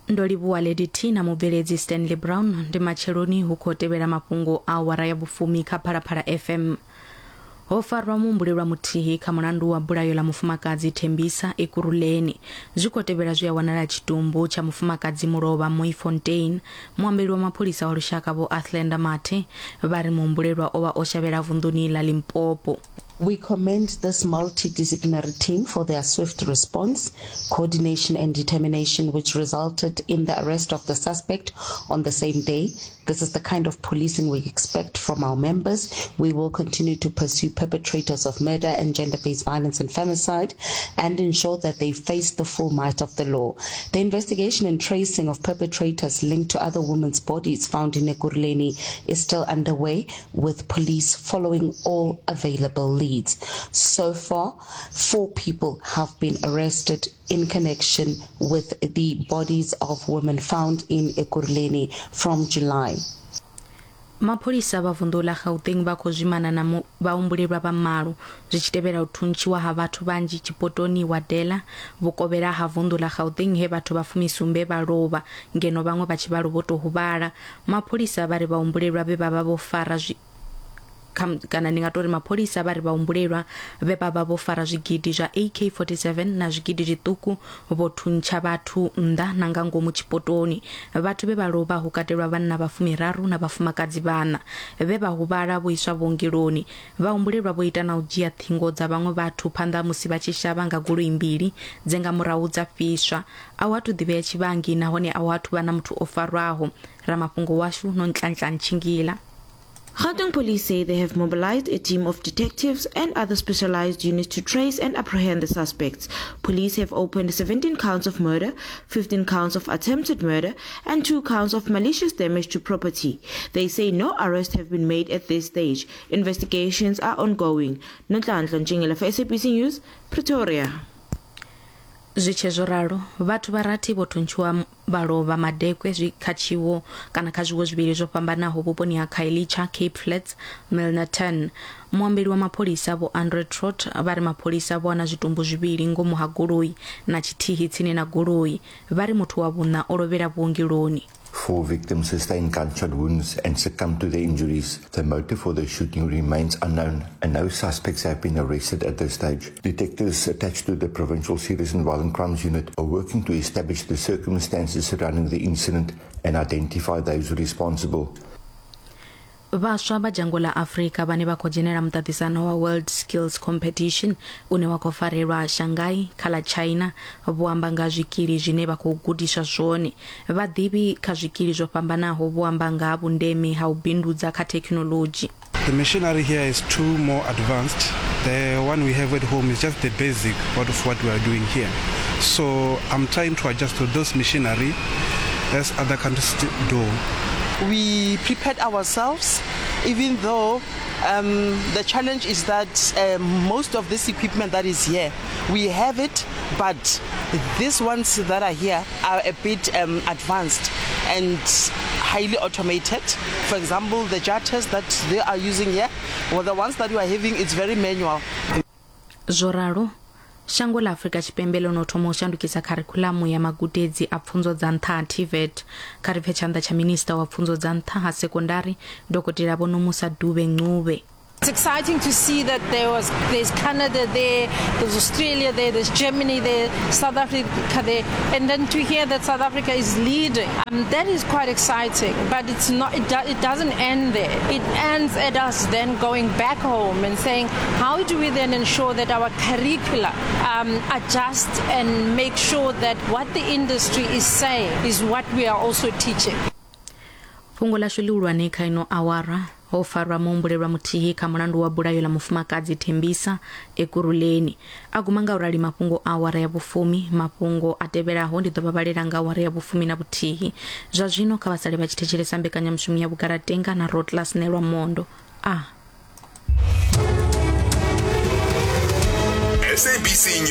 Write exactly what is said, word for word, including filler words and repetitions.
Ndo livhuwa Lady T na mubveledzi Stanley Brown. Ndi matsheloni, hu khou tevhela mafhungo a awara ya vhufumi kha Phalaphala F M. Ho farwa muhumbulelwa muthihi kha mulandu wa bulayo ḽa mufumakadzi Thembisa Ekurhuleni. Zwi khou tevhela zwi a wanala tshitumbu tsha mufumakadzi mulovha Mooifontein. Muambeli wa mapholisa wa lushaka Vho Athlenda Mathe vha ri muhumbulelwa o vha o shavhela vunḓuni ḽa Limpopo. We commend this multidisciplinary team for their swift response, coordination, and determination, which resulted in the arrest of the suspect on the same day. This is the kind of policing we expect from our members. We will continue to pursue perpetrators of murder and gender based violence and femicide and ensure that they face the full might of the law. The investigation and tracing of perpetrators linked to other women's bodies found in Ekurhuleni is still underway, with police following all available leads. So far, four people have been arrested in connection with the bodies of women found in Ekurhuleni from July. Mapholisa vha vunḓu ḽa Gauteng vha khou zwimana na mu- vhahumbulelwa vha malo zwi tshi tevhela u thuntshiwa ha vhathu vhanzhi tshipotoni Wadela, vhukovhela ha vunḓu ḽa Gauteng, he vhathu vha fumisumbe vha lovha ngeno vhaṅwe vha tshivhalo vho tou huvhala. Mapholisa vha ri vhahumbulelwa vhe vha vha vho fara zwi kha- kana ndi nga tori mapholisa vha ri vhahumbulelwa vhe vha vha vho fara zwigidi zwa A K forty-seven na zwigidi zwiṱuku vho thuntsha vhathu nnḓa na nga ngomu tshipotoni. Vhathu vhe vha lovha hu katelwa vhanna vha fumiraru na vhafumakadzi vhana. Vhe vha huvhala vho iswa vhuongeloni. Vhahumbulelwa vho ita na u dzhia ṱhingo dza vhaṅwe vhathu phanḓa ha musi vha tshi shavha nga goloi mbili dze nga murahu dza fhiswa. A hu athu ḓivhea tshivhangi nahone a hu athu vha na muthu o farwaho. Ramafhungo washu Nonhlanhla Ntshingila. Gauteng police say they have mobilized a team of detectives and other specialized units to trace and apprehend the suspects. Police have opened seventeen counts of murder, fifteen counts of attempted murder, and two counts of malicious damage to property. They say no arrests have been made at this stage. Investigations are ongoing. Nonhlanhla Ntshingila for S A B C News, Pretoria. Zwi tshe zwo ralo, vhathu vha rathi vho thuntshiwa vha lovha madekwe zwi kha tshiwo kana kha zwiwo zwivhili zwo fhambanaho vhuponi ha Khayelitsha, Cape Flats, Milnerton. Muambeli wa mapholisa Vho Andre Trott vha ri mapholisa vho wana zwitumbu zwivhili ngomu ha goloi na tshithihi tsini na goloi. Vha ri muthu wa vhuṋa o lovhela vhuongeloni. Four victims sustained gunshot wounds and succumbed to their injuries. The motive for the shooting remains unknown and no suspects have been arrested at this stage. Detectives attached to the Provincial Serious and Violent Crimes Unit are working to establish the circumstances surrounding the incident and identify those responsible. Vhaswa vha dzhango ḽa Afrika vhane vha khou dzhenela muṱaṱisano wa World Skills Competition une wa khou farelwa Shanghai kha ḽa China vho amba nga zwikili zwine vha khou gudiswa zwone. Vhaḓivhi kha zwikili zwo fhambanaho vho amba nga ha vhundeme ha u bindudza kha thekhinoḽodzhi. The machinery here is too more advanced. The one we have at home is just the basic part of what we are doing here. So I'm trying to adjust to those machinery as other countries do. We prepared ourselves, even though um, the challenge is that uh, most of this equipment that is here, we have it, but these ones that are here are a bit um, advanced and highly automated. For example, the jetters that they are using here, well, the ones that we are having, it's very manual. Zwo ralo, shango ḽa Afrika Tshipembe ḽo no thoma u shandukisa kharikhuḽamu ya magudedzi a pfunzo dza nṱha ha TVET. Kha ri pfe tshanḓa tsha minista wa pfunzo dza nṱha ha sekondari, Dokotela Vho Nomusa Dube Ncube. It's exciting to see that there was there's Canada there, there's Australia there, there's Germany there, South Africa there, and then to hear that South Africa is leading, um, that is quite exciting. But it's not. It, do, it doesn't end there. It ends at us then going back home and saying, how do we then ensure that our curricula um, adjust and make sure that what the industry is saying is what we are also teaching. Fhungo ḽashu ḽihulwane kha ino awara: ho farwa muhumbulelwa muthihi kha mulandu wa bulayo ḽa mufumakadzi Thembisa Ekurhuleni. A guma nga u rali mafhungo a awara ya vhufumi. Mafhungo a tevhelaho ndi ḓo vha vhalela nga awara ya vhufumi na vhuthihi. Zwa zwino kha vha sale vha tshi thetshelesa mbekanyamushumo ya Vhugalatenga na Rotlas Nelwa Mondo a S A B C News.